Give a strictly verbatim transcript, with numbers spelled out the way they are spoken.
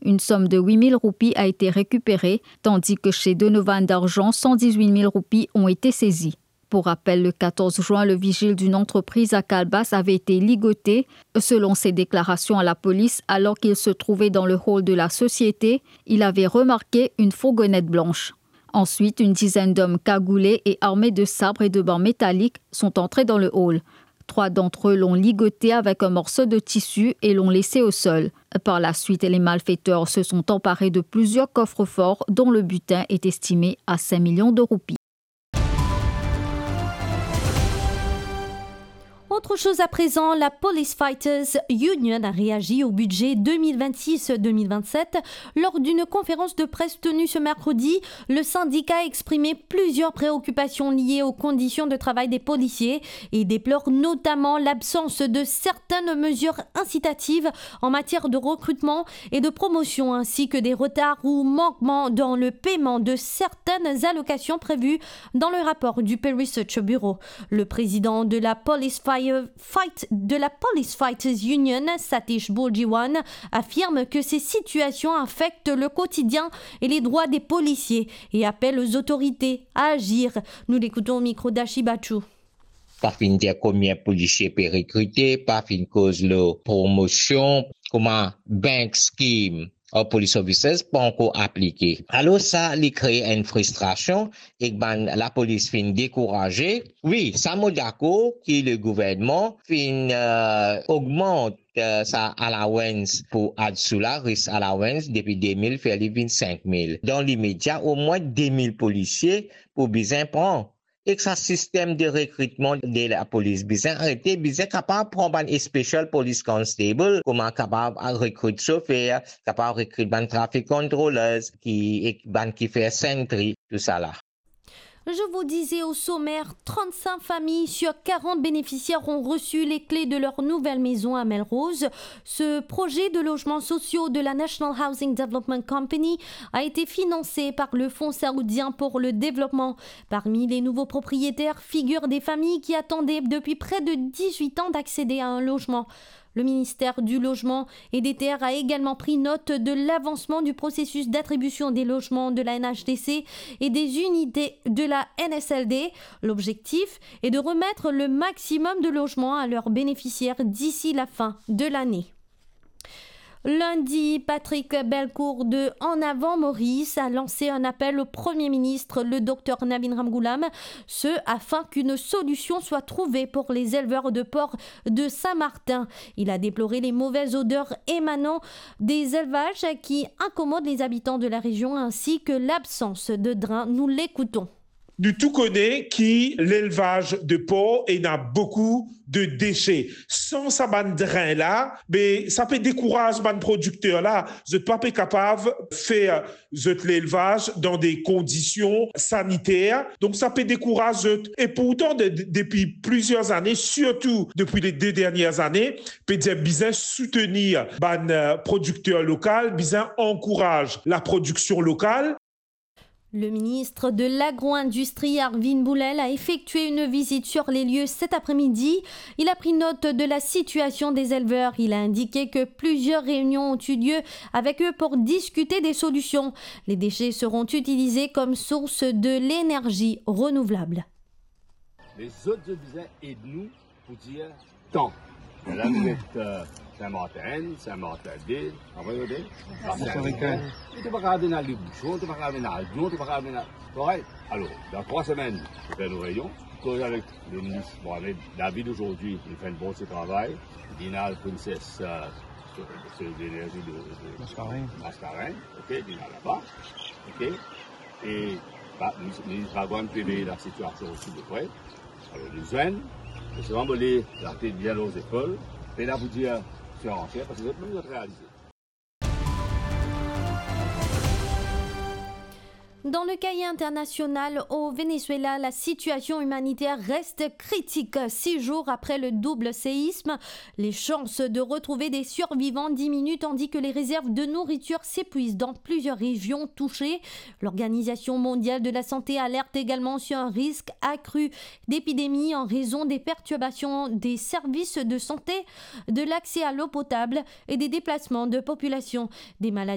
Une somme de huit mille roupies a été récupérée, tandis que chez Donovan Darjan, cent dix-huit mille roupies ont été saisies. Pour rappel, le quatorze juin, le vigile d'une entreprise à Calebasse avait été ligoté. Selon ses déclarations à la police, alors qu'il se trouvait dans le hall de la société, il avait remarqué une fourgonnette blanche. Ensuite, une dizaine d'hommes cagoulés et armés de sabres et de bancs métalliques sont entrés dans le hall. Trois d'entre eux l'ont ligoté avec un morceau de tissu et l'ont laissé au sol. Par la suite, les malfaiteurs se sont emparés de plusieurs coffres-forts dont le butin est estimé à cinq millions de roupies. Autre chose à présent, la Police Fighters Union a réagi au budget deux mille vingt-six deux mille vingt-sept. Lors d'une conférence de presse tenue ce mercredi, le syndicat a exprimé plusieurs préoccupations liées aux conditions de travail des policiers et déplore notamment l'absence de certaines mesures incitatives en matière de recrutement et de promotion, ainsi que des retards ou manquements dans le paiement de certaines allocations prévues dans le rapport du Pew Research Bureau. Le président de la Police Fire-, Fight-, de la Police Fighters Union, Satish Bourjiwan, affirme que ces situations affectent le quotidien et les droits des policiers et appelle aux autorités à agir. Nous l'écoutons au micro d'Ashi Bachou. Pa finn dir konbien polisie pe rekrite, pa finn koz lor promosion, kouma bank scheme or police officers pa ankor aplike. Alor sa, li kree enn fristrasion ek bann lapolis finn dekouraze. Wi, sa mo dakor ki le gouvernman finn, eh, ogmant, eh, sa allowance pou adsou la, risk allowance, depi de mil fer li vinn sink mil. Dan limedia, omwin de mil polisie pou bizin pran. Ek sa sistem de rekritman de lapolis bizin arete, bizin kapav pran bann special police constable, kouma kapav rekrit sofer, kapav rekrit bann traffic controllers, ki, ek bann ki fer sentry, tousala. Je vous disais au sommaire, trente-cinq familles sur quarante bénéficiaires ont reçu les clés de leur nouvelle maison à Melrose. Ce projet de logements sociaux de la National Housing Development Company a été financé par le Fonds saoudien pour le développement. Parmi les nouveaux propriétaires figurent des familles qui attendaient depuis près de dix-huit ans d'accéder à un logement. Le ministère du Logement et des Terres a également pris note de l'avancement du processus d'attribution des logements de la N H D C et des unités de la N S L D. L'objectif est de remettre le maximum de logements à leurs bénéficiaires d'ici la fin de l'année. Lundi, Patrick Belcourt de En Avant Maurice a lancé un appel au Premier ministre, le docteur Navin Ramgoolam, ce afin qu'une solution soit trouvée pour les éleveurs de porcs de Saint-Martin. Il a déploré les mauvaises odeurs émanant des élevages qui incommodent les habitants de la région ainsi que l'absence de drain. Nous l'écoutons. Nou tou kone ki lelvaz de por ena boukou de dese. San sa bann dren la, be, sa pe dekouraz bann prodikter la. Zot pa pe kapav fer zot lelvaz dan de kondision saniter. Donk, sa pe dekouraz zot. E pourtan, de, de, depi plizier zane, sirtou depi le de dernie zane, pe dir bizin soutenir bann, eh, prodikter lokal, bizin ankouraz laprodiksion lokal. Le ministre de l'Agro-Industrie, Arvin Boulel, a effectué une visite sur les lieux cet après-midi. Il a pris note de la situation des éleveurs. Il a indiqué que plusieurs réunions ont eu lieu avec eux pour discuter des solutions. Les déchets seront utilisés comme source de l'énergie renouvelable. Lezot, zot bizin ed nou pou dir tan. La, nou met, eh, Saint-Martin un, Saint-Martin deux, apre nou met Saint-Martin. Nou pa kapav vinn al bouchon, nou pa kapav vinn al, nou pa kav vinn al. Korek? Alor, dan trwa semenn, nou fer nou reynion, koz avek le minis Mohamed David azordi, li fer enn bon ti travay, li al Princess, eh, se, se lenerzi de, de Mascarenhas. Mascarenhas, ok, li al laba, ok. E, ba, minis, minis Bagwan pe veye lasitiasion osi de pre. Alor, nou zwenn, e selman mo le latet bien lor zepol, pena pou dir sir anser, parski zot mem zot realize. Dans le cahier international, au Venezuela, la situation humanitaire reste critique. Six jours après le double séisme, les chances de retrouver des survivants diminuent tandis que les réserves de nourriture s'épuisent dans plusieurs régions touchées. L'Organisation mondiale de la santé alerte également sur un risque accru d'épidémie en raison des perturbations des services de santé, de l'accès à l'eau potable et des déplacements de population. Des maladies